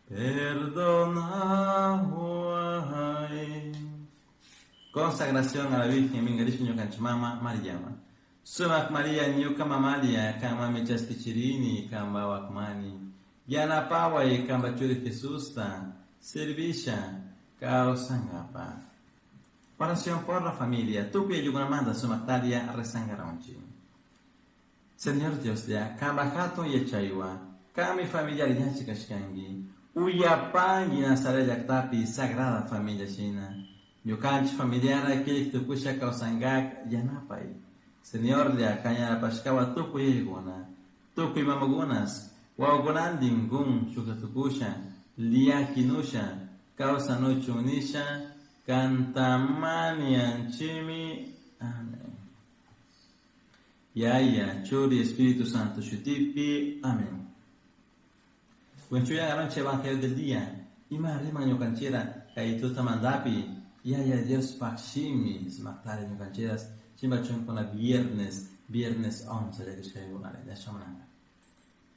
Perdonahuai. Consagración a la Virgen Mingarishka ñukanchik mama Mariama. Sumak Maria ñuka mamalia kanmanmi chaskichirini kanpa wakmani. Yanapaway kanpa churi Jesusta servisha kawsankapaj. Oración por la familia. Tukuy ayllukunamanta sumaktaria rezankaronchik. Señor Dioslla, kanpa hatun yachaywan, kanmi familiari yachik kashkanki. Uyapanki Nazaret llaktapi Sagrada Familia shina. Ñukanchik familiara kirik tukusha kawsankak yanapay. Señorlla, kan yanapashkawan tukuy yayakuna, tukuy mamakunas, wawakunantin kun shukta tukusha, llakinusha, kawsanuchun nisha, kantamanianchimi. Amén. Yaya, Churi, Espíritu Santo, Shutipi. Amén. Wenchuya garonche Evangelio del día. Ima rima ñukanchira kay tutamantapi. Yaya Dios shimi smaktari ñukanchiras. Chimba chunkuna viernes, viernes 11 de.